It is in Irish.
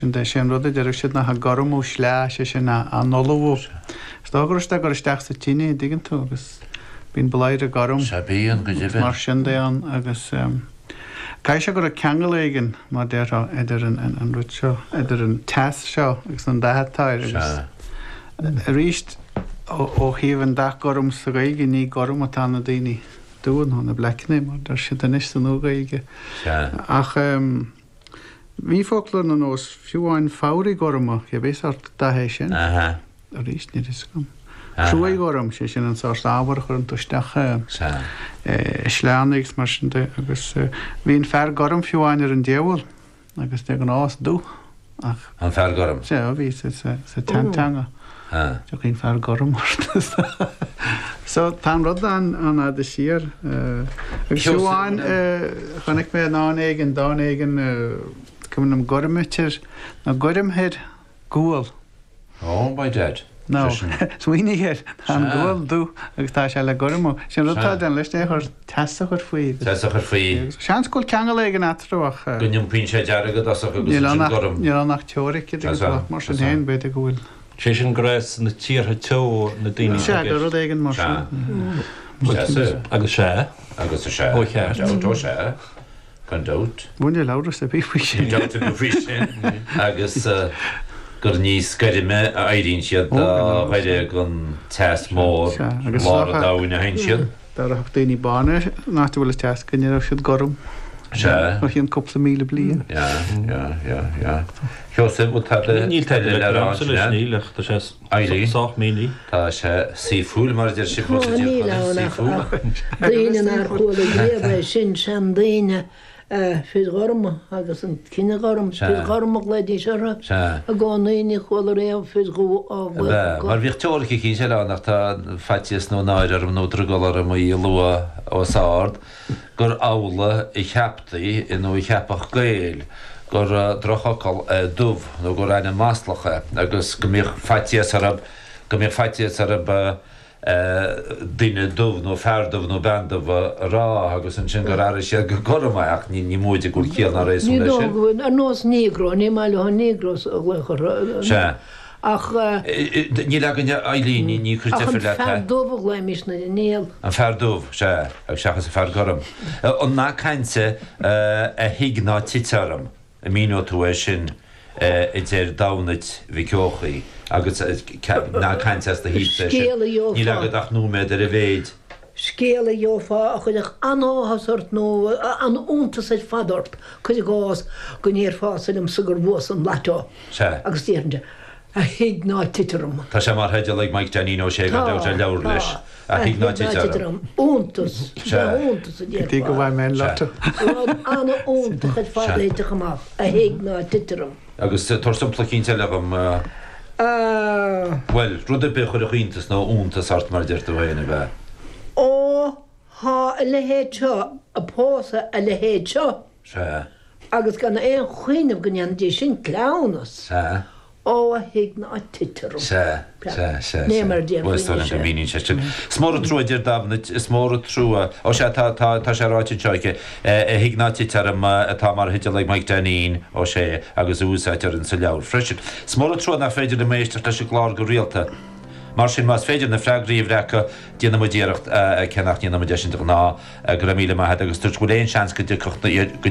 Is é an rud a deireadh siad ná ag gormú sleá, sé sin, á n-ullmhú. Is dócha go raibh siad á gcur isteach sa tine, an dtuigeann tú, agus bíonn bladhaire gorm Sea, bíonn, go agus deimhin. mar sin de ann agus caithfidh sé go raibh ceangal éigin, mar déarfá, idir an rud seo, idir an teas seo agus an dath atá air agus Sea. arís ó thaobh an dath gorm sa Ghaeilge, ní gorm atá na daoine dubha nó na bleaiceanna mar deir siad anois sa Nua-Ghaeilge. Sea. Ach. Bhí foclóir na nós, fiú amháin fabhraí gorma, cibé sórt dath é sin. Aha. Arís, níl fhios agam. Aha. Cruaidh ghorm, sé sin an sórt ábhar a chuireann tú isteach Sea. i sleánna agus mar sin de. Agus bhí an fear gorm fiú amháin ar an diabhal agus de ghnáth is dubh ach. An fear gorm? Sea, bhí sa tseanteanga. Aha. Tiocfaidh an fear gorm ort. So tá an rud an-fhada siar. Agus fiú amháin chonaic mé i ndán éigin, dán éigin, cuimhin liom, goirmtear nó goirmthear gual. Oh, by dad. No, smaoinigh air, tá an gual dubh agus tá sé le gormú. Sin rud atá déanamh leis, é a chur, teas a chur faoi. Teas a chur faoi. Seans go bhfuil ceangal éigin eatarthu ach. Go n-iompaíonn sé dearg i dtosach agus ansin gorm. Níl ann ach teoiric, mar sin féin, b'fhéidir go bhfuil. Sé sin go raibh sna tíortha teo na daoine Sea, gur rud éigin mar sin. Sea. Agus sea. Agus sea. Ó cheart. Gan dabht, ó sea. Gan dabht. Bhuel, níl amhras ar bith faoi sin. Níl dabht ar bith faoi sin. Agus gur níos goirme a éiríonn siad dá ghaire don teas mór lár an domhain a théann siad. Dá rachadh daoine bána in áit a bhfuil an teas go n-éireodh siad gorm. Sea. Ó cheann cúpla 1,000 bliain. Yeah, yeah, yeah, yeah. Sheosaimh, bhfuil tada Níl tada eile le le rá agamsa leis, ansin? níl, ach tá sé Eileen? sách mínithe. Tá sé saoithiúil, mar a deir sibh thuas i Tá, dTír níl Chonaill, ann ach saoithiúil. ach daoine nár chuala riamh é sin, seandaoine, fir ghorma agus an cine gorm, fir ghorma a ghlaoidís orthu i gcónaí, ní chuala riamh fir dhubha á Ab nglaoch ea? acu. Mar bhíodh teoiric eicínt eile ann ach tá faitíos nó náire orm nó drogall orm í a lua os ard, gur amhlaidh a cheaptaí nó a cheapadh Gaeil gur drochfhocal é dubh nó gur ainm maslach é agus go mbíodh faitíos orthu go mbíodh faitíos orthu duine dubh nó fear dubh nó bean dubh a rá agus ansin gur athraigh siad go gorm é ach ní móide go bhfuil ciall ná Ní réasún leis dóigh sin. go bhfuil, ar nós Negro, ní maith leo an Negros a ghlaoch orthu. Sea. Ach. Níl againne, Eileen, ní cuir Ach an deifir leat fear é. dubh a ghlaoimis na, níl. An fear dubh, sea, agus seachas an fear gorm. An nath cainte a thig ná tit orm. An míneoidh tú é sin, a deir Damhnait Mhic Eochaidh, agus nath cainte as do thaobhsa é sin. Scéal a gheofá. Níl agat ach nóiméad ar a mhéid. Scéal a gheofá a chuirfeadh an-áthas ort nó an-iontas ar fad ort, cuir i gcás, go ndéarfása liomsa gur bhuas an lotto. Sea. Agus déarfainnse, A thig ná tit orm. Tá sé mar theideal ag Mike Dainín Ó Sé gan dabht ar leabhar leis, Tá, A thig ná tit orm. Iontas, iontas a Go dtí go déarfá. bhfaighidh mé an lotto. Rud an-iontach ar fad a thitfeadh amach, a thig ná tit orm. Agus tabhair sampla eicínt eile dhom. Bhuel, rud ar bith a chuirfeadh iontas nó iontas ort, mar a deir tú féin, ab ea? Ó, thá a leithéid seo a' pósadh a leithéid seo. Sea. Agus gan aon chuimhneamh go ndéanfaidís sin cleamhnas. Sea. Ó, a thig ná tit orm. Sea, sea, sea, Né sea. mar a déarfaí Bhuel, is dóigh liom go anois é. míníonn sé sin. Is mór an trua, a deir Damhnait, is mór an trua. Ó sea, tá, tá, tá sé ráite anseo aici. A thig ná tit orm atá mar theideal ag Mike Dainín Ó Sé agus a úsáidtear insa leabhar freisin. Is mór an trua nach féidir liom éisteacht leis an gclár go rialta. Mar sin, más féidir na freagraí a bhreacadh, déanfaidh muid iarracht, cé nach ndéanann muid é sin de ghnáth. Go raibh míle maith agat agus dúirt go bhfuil aon seans go dtiocfadh, go.